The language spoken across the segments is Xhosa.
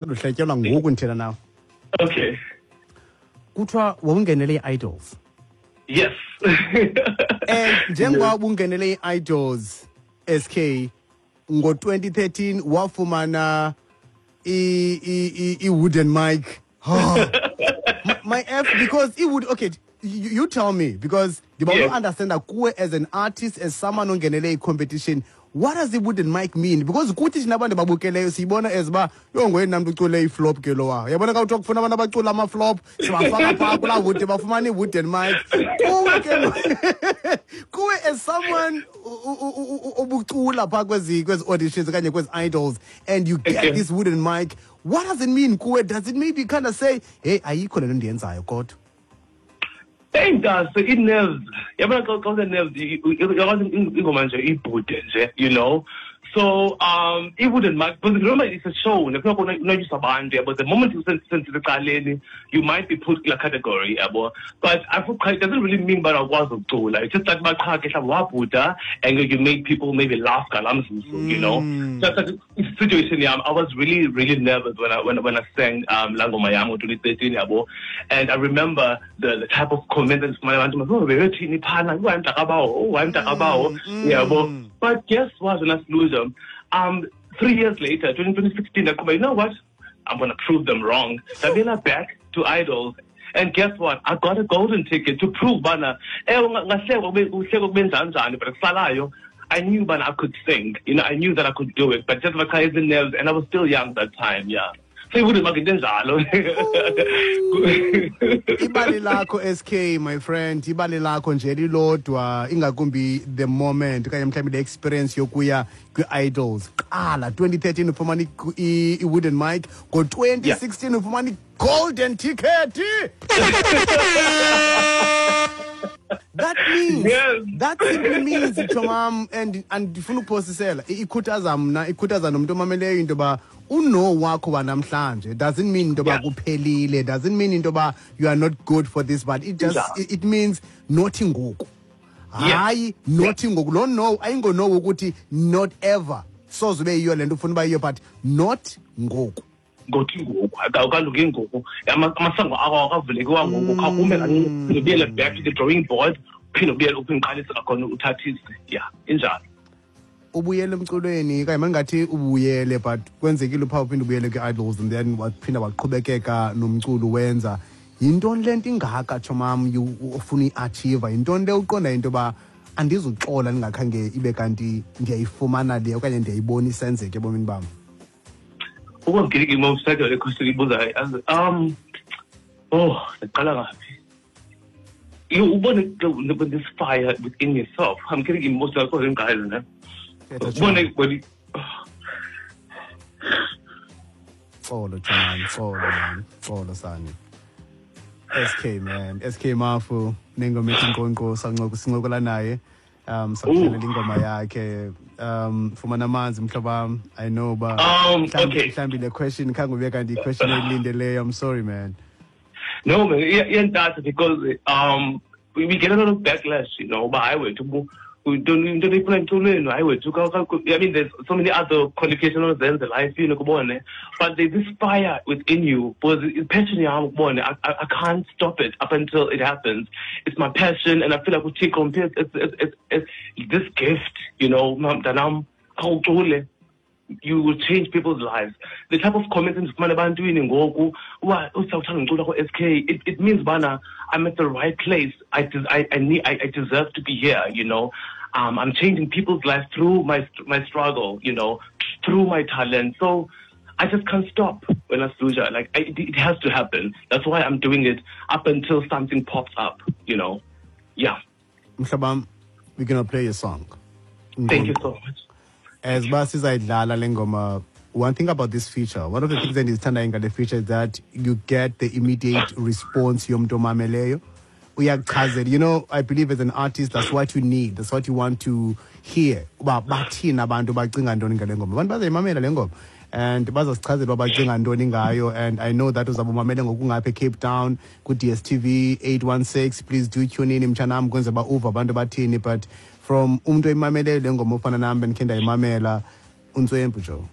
Luhletyelwa ngoku ndithetha nawe. Okay. Kuthiwa wawungenele i-Idols. Yes. And njengoba ubungenele i-Idols, SK, ngo-2013 wafumana i-wooden mic. Oh, my F, because it would, okay, you tell me, because ndiba understand kuwe as an artist, as someone ongenele i-competition, what does the wooden mic mean? Because kuthi thina abantu babukeleyo siyibona as uba yho ngoyena mntu ucule iflop ke lowa. Yabona xa kuthiwa kufuna abantu abacula amaflop, sibafaka phaa kulaa wood, bafumana i-wooden mic. Kuwe ke, kuwe as someone obucula phaa kwezi auditions okanye kwezi Idols, and you get this wooden mic, what does it mean kuwe? Does it maybe kind of say, hey, ayikho le nto ndiyenzayo kodwa? Hey, Ntase, i-nerves. Yabona xa une-nerves, uyakwazi ingoma nje ibhude nje, you know. So i-wooden mic, because remember it's a show, nekufuneka unwatyiswe abantu, yabo. The moment usecaleni, you might be put kulaa category, yabo. But I feel it doesn't really mean uba awukwazi ukucula. It's just that uba qha ke mhlawumbi wabhuda and you made people maybe laugh ngalaa mzuzu, you know. Just like situation yam, I was really, really nervous when I sang laa ngoma yam ngo-2013, yabo. And I remember the type of comments endifumana abantu, oh, bebethini phana, oh, hayi mntakabawo, oh, hayi mntakabawo, yabo. But guess what, wena Siluzo? 3 years later, 2016, ndaqhuba, you know what? I'm going to prove them wrong. Ndabuyela back to Idols. And guess what? I got a golden ticket to prove bana, ngahlekwa kube, uhlekwa kube njani, but kusalayo, I knew bana I could sing. I knew that I could do it. But just my crazy nerves, and I was still young that time, yeah. So it wouldn't make njalo. Ibali lakho, SK, my friend, ibali lakho nje lilodwa, ingakumbi the moment, okanye mhlawumbi the experience yokuya kwi-Idols. Qala, 2013 ufumana i-wooden mic, ngo-2016 ufumana i-golden ticket. That means, that simply means, Chomam, and ndifuna ukuphosisela, ikhuthaza mna, ikhuthaza nomntu omameleyo into yoba uno wakho wanamhlanje doesn't mean into yoba kuphelile, doesn't mean into yoba you are not good for this, but it just, it means not ngoku. Hayi, not ngoku. Lo no, ayingo no ukuthi not ever. Soze ube yiyo le nto ufuna uba yiyo, but not ngoku. Ngothi ngoku, awukalungi ngoku. Amasango akho awakavulekiwa ngoku. Khawume kancinci, ubuyele back to the drawing board, uphinde ubuyele, uphinde uqalise kwakhona uthathise. Yeah, injalo. Ubuyele emculweni, okanye mandingathi ubuyele, but kwenzekile uphaa uphinde ubuyele kwi-Idols and then waphinda waqhubekeka nomculo wenza. Yintoni le nto ingaka, tshomam, ofuna uyi-achieve? Yintoni le uqonda into yoba andizuxola ndingakhange ibe kanti ndiyayifumana le okanye ndiyayibona isenzeka ebomini bam? Ukuba ngilike imo-cycle le question ibuzayo, oh, ndiqala ngaphi? You ubone this fire within yourself. I'm getting emotional because I'm guys, ne? Thetha, Ubone Tshomam. when you Xolo, Tshomam, xolo, man. Xolo, sani. SK, man. SK Mafu, nengoma ethi Nkonko, sincokola naye. Sakudlalela ingoma yakhe. Fumana amanzi, mhlobo wam. I know ba mhlambi le question khange ube kanti i-question oyilindeleyo. I'm sorry, man. No, man, iyantatha because we get a lot of backlash, you know, uba hayi wethu, don't, don't ifuna emculweni, hayi wethu, ka, ka, I mean, there's so many other qualifications ozenze life, you know, kubone. But there's this fire within you, because it's passion yam, kubone. I can't stop it up until it happens. It's my passion, and I feel like uThixo ungiphe it's this gift, you know, mntanam, khawucule. You will change people's lives. The type of comments endifumana ebantwini ngoku, uba usawuthanda ngicula ko-SK, it means bana I'm at the right place. I deserve to be here, you know. I'm changing people's lives through my struggle, you know, through my talent. So I just can't stop when I lose. It has to happen. That's why I'm doing it up until something pops up, you know. Yeah. Mhlobam, we're going to play a song. Thank you so much. As uba sizayidlala le ngoma, one thing about this feature, one of the things that is endizithandayo ngale feature is that you get the immediate response yomntu omameleyo. Uyakuchazela. You know, I believe as an artist, that's what you need. That's what you want to hear. Uba bathini abantu bacinga ntoni ngale ngoma. Abantu bazayimamela le ngoma. And bazasichazela uba bacinga ntoni ngayo. And I know that uzawube umamele ngokungapha eCape Town, ku-DStv 816. Please do tune in, mtshanam, kwenzela uba uve abantu bathini. But from umntu oyimameleyo le ngoma ofana nam bendikhe ndayimamela, untswempu, Joe.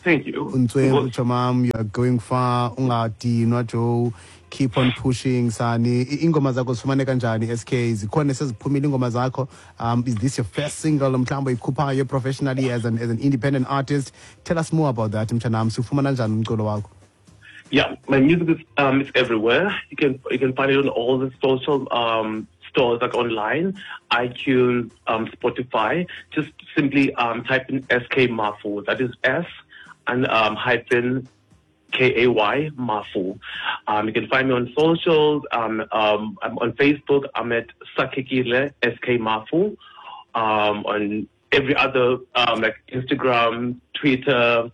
Thank you. Untswembu chomam, you are going far. Ungadinwa Joe, keep on pushing sani. Ingoma zakho zifumaneka kanjani SK? Zikhona seziphumile ingoma zakho. Is this your first single mhlawumbe uyikhuphayo professionally as an independent artist? Tell us more about that mtshanam. Sifumana kanjani umculo wakho? Yeah, my music is it's everywhere. You can find it on all the social stores, like online, iTunes, Spotify. Just simply type in SK Mafu. That is S and hyphen K A Y Mafu. You can find me on socials. I'm on Facebook. I'm at Sakhekile SK Mafu. On every other like Instagram, Twitter,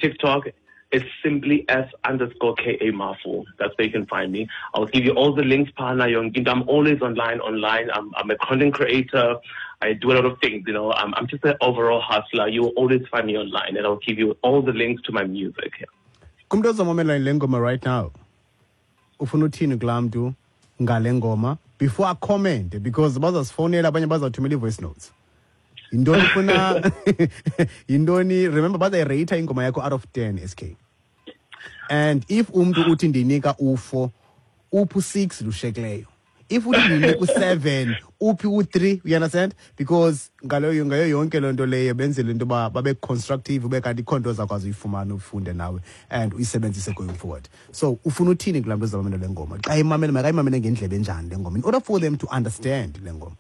TikTok. It's simply S_KA Mafu. That's where you can find me. I'll give you all the links, Pana. I'm always online. I'm a content creator. I do a lot of things, you know. I'm just an overall hustler. You will always find me online, and I'll give you all the links to my music. Kumntu ozomamela le ngoma right now, ufuna uthini kulaa mntu ngale ngoma before I comment, because bazasifonela abanye bazathumela ii-voice notes. Yintoni ufuna yintoni? Remember, bazayireyitha ingoma yakho out of 10 SK. And if umntu uthi ndinika u4, uphi u6 lushekileyo. If uthi ndinika u7, uphi u3, you understand? Because ngayo yonke loo nto leyo benzele into yoba babe constructive, ube kanti ikho nto ozakwazi uyifumana ufunde nawe and uyisebenzise going forward. So ufuna uthini kulaa mntu ozamamela le ngoma? Xa imamele, makayimamele ngendlebe enjani le ngoma in order for them to understand le ngoma?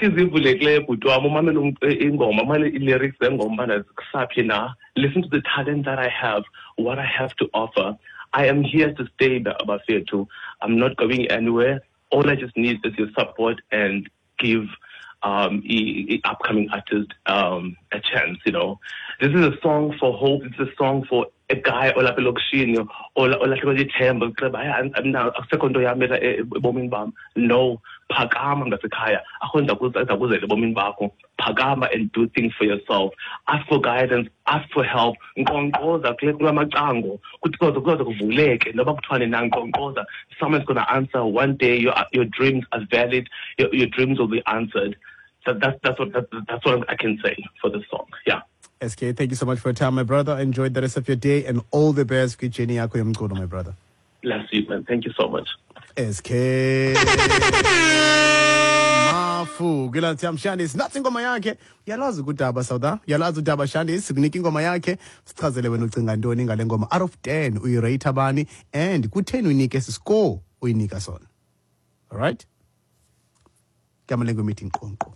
Inhliziyo ivulekileyo bhuti wam, umamele ingoma, umamele ii-lyrics zengoma ubana zikusaphi na. Listen to the talent that I have, what I have to offer. I am here to stay, bafethu. I'm not going anywhere. All I just need is your support and give upcoming artists a chance, you know. This is a song for hope. It's a song for a guy olapha elokishini olahlekelwe lithemba, uxeba hayi akusekho nto yam ebomini bam. No, phakama ngasekhaya, akho nto ezakuzela ebomini bakho. Phakama and do things for yourself. Ask for guidance, ask for help. Nkqonkqoza kula macango, kuthi kuze kuvuleke noba kuthiwane na, nkqonkqoza. Someone's gonna answer one day. Your dreams are valid. Your dreams will be answered. That's what I can say for this song. Yeah. SK, thank you so much for your time, my brother. Enjoy the rest of your day and all the best. Kwicheni yakho yomculo, my brother. Bless you, man. Thank you so much. SK Mafu. Gilanti Shandis. Nathi ingoma yakhe. Uyalazi udaba Sauda. Uyalazi udaba Shandis. Sikunika ingoma yakhe. Sichazele wena ucinga ntoni ngale ngoma. Out of 10 uyirate bani and ku-10 uyinike esi score uyinika sona. All right? Kamalengo meeting nqonqo.